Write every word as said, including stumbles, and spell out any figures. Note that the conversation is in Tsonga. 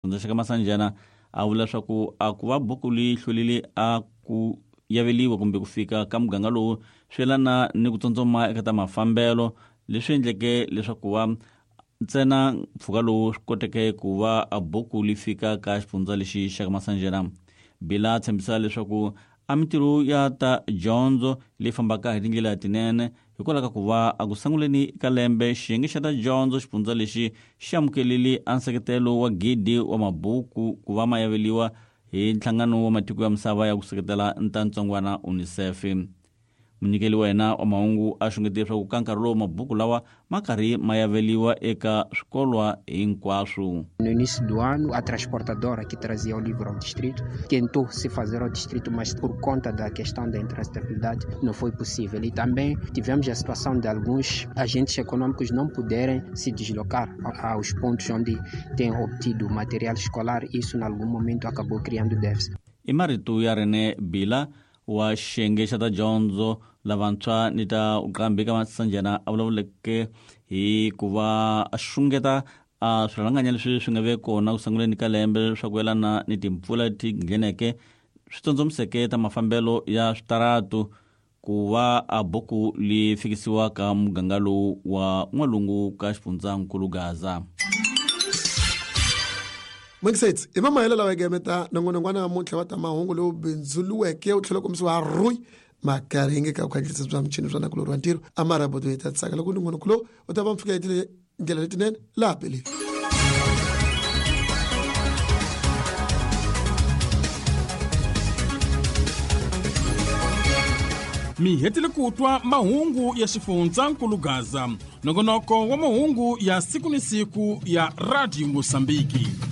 Xifundza xa ka Masanjana a vula leswaku a ku va buku leyi hlwelile a ku yaveliwa kumbe ku fika ka muganga lowu swi yelana ni ku tsotsoma eka ta mafambelo leswi endleke leswaku va ntsena mpfhuka lowu swi koteke ku va a buku li fika ka xifundza lexi xa ka Masanjana. Bila a tshembisa leswaku a mintirho ya ta dyondzo leyi fambaka hi tindlela tinene hikwalaho ka ku va a ku sunguleni ka lembe xiyenge xa ta dyondzo xifundza lexi xi amukelile a nseketelo wa gidi wa mabuku ku va ma yaveliwa hi nhlangano wa matiko ya misava ya ku seketela ntantsongwana UNICEF. Munyikeli wa yena wa mahungu a xungetile leswaku ka nkarhi lowu mabuku lawa ma karhi ma yaveliwa eka swikolwa hinkwaswo. No início do ano, a transportadora que trazia o livro ao distrito tentou se fazer ao distrito, mas por conta da questão da intransitabilidade não foi possível. E também tivemos a situação de alguns agentes econômicos não poderem se deslocar aos pontos onde têm obtido material escolar. Isso, em algum momento, acabou criando déficit. I marito ya René Bila wa xiyenge xa ta dyondzo lavantshwa ni ta uqambi ka Masanjana a vulavuleke hi ku va a xungeta a swirhalanganya leswi swi nga ve kona ku sunguleni ka lembe swa ku yelana ni timpfula leti ngheneke swi tsondzomiseke ta mafambelo ya switaratu ku va a buku li fikisiwa ka muganga lowu wa n'walungu ka xifundzankulu Gaza. Mingiseti i mamahelo lawa gemeta nongonongwana namuntlha wa ta mahungu lowu bindzuluweke wu tlhela kombisiwa rui makaringe ka vukhandziyisi bya michini swa nakulorhi wa ntirho a maraboto hi ta tsaka loko nongonoko lowu u ta va mi fika hi tindlela letinene laha peleni. Mi hetile ku twa mahungu ya xifundzankulu Gaza, nongonoko wa mahungu ya siku ni siku ya Radio Mosambiki.